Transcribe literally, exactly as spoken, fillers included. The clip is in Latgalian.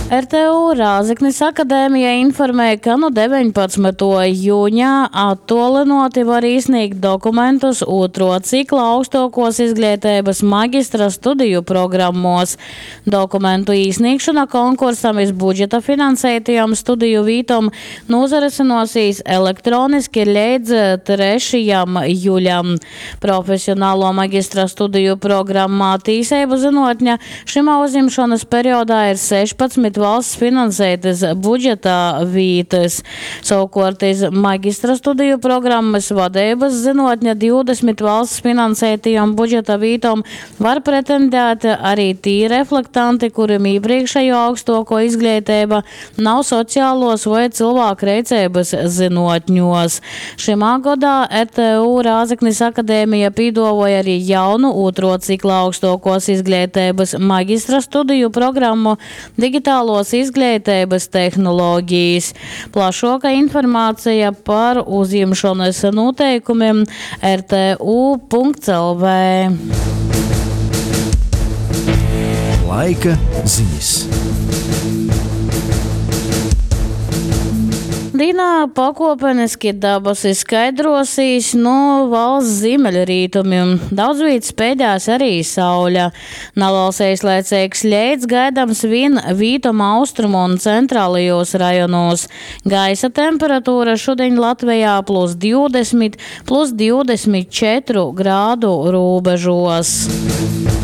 R T U Rāzeknis akadēmija informē, ka nu deveņpadsmytuo juņa attuolynuoti var īsnīgt dokumentus ūtruo cikla augstuokuos izgleiteibys magistra studiju programmuos. Dokumentu īsnīgšona konkursam iz budžeta finanseitajom studiju vītom nūsarysynuosīs elektroniski leidz trešajam juļam. Profesionaluo magistra studiju programmā Tīseibu zynuotne šymā uzjimšonys periodā ir sešpadsmit valsts finanseitys budžeta vītys. Sovukuort iz magistra studiju programmys Vadeibys zynuotne divdesmit valsts finanseitajom budžeta vītom var pretendēt ari tī reflektanti, kurim īprīkšejuo augstuokuo izgleiteiba nav socialuos voi cylvākreiceibys zynuotņuos. Šymā godā R T U Rāzeknis akadēmija pīduovoj ari jaunu ūtruo cikla augstuokuos izgleiteibys magistra studiju programmu Digitaluos izgleiteibys tehnologijas. Plašuoka informaceja par uzjimšonys nūteikumim R T U punkts L V. Laika ziņas. Dīnā pakuopeniski dabasi skaidrosīs nu valsts ziemeļrietumiem. Daudz vīt speidēs arī saule. Naliels eislaicīgs leits gaidams vien vītom austrumu un centrālajos rajonos. Gaisa temperatūra šodien Latvijā plus divdesmit, plus divdesmit četru grādu robežos.